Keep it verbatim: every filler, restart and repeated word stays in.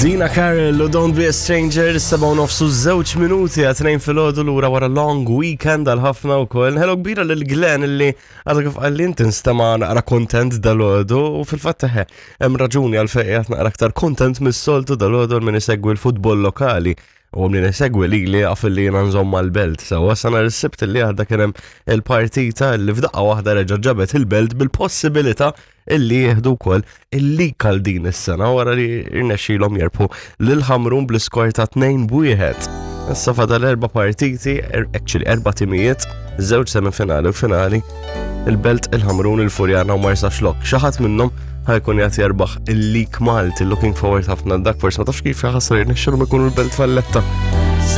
Dina Carroll u Don't Be a Stranger, seba' u nofsu żewġ minuti għat-tnejn filgħodu, lura wara long weekend għal ħafna u koll. Hello kbira lil Glenn illi għadha kif qalli inti nstema' naqra kontent dalgħodu, u fil-fatt eħe, hemm raġuni għal fejn qed naqra aktar kontent mis-soltu dalgħodu. Min isegwi l-futbol lokali u min isegwi li li għaf li jiena nżomm mal-Belt. Sewwa, nhar is-Sibt li għadda kien hemm il-partita li f'daqqa waħda reġa' ġabet il-Belt bil-possibilità illi jieħdu wkoll il-lig għal din is-sena wara li rnexxielhom jerbħu lil Ħamrun bl-iskor ta' tnejn b'wieħed. Issa fadal erba' partiti, er, actually erba' timijiet, żewġ semifinali u finali, il-Belt, il-Ħamrun, il-Furjana u Marsaxlokk. Xi ħadd minnhom ħa jkun jgħat jerbaħ il-lig Malti, looking forward ħafna dak, forsi ma tafx kif jaħasra jirnexxielhom ikunu l-Belt Valletta.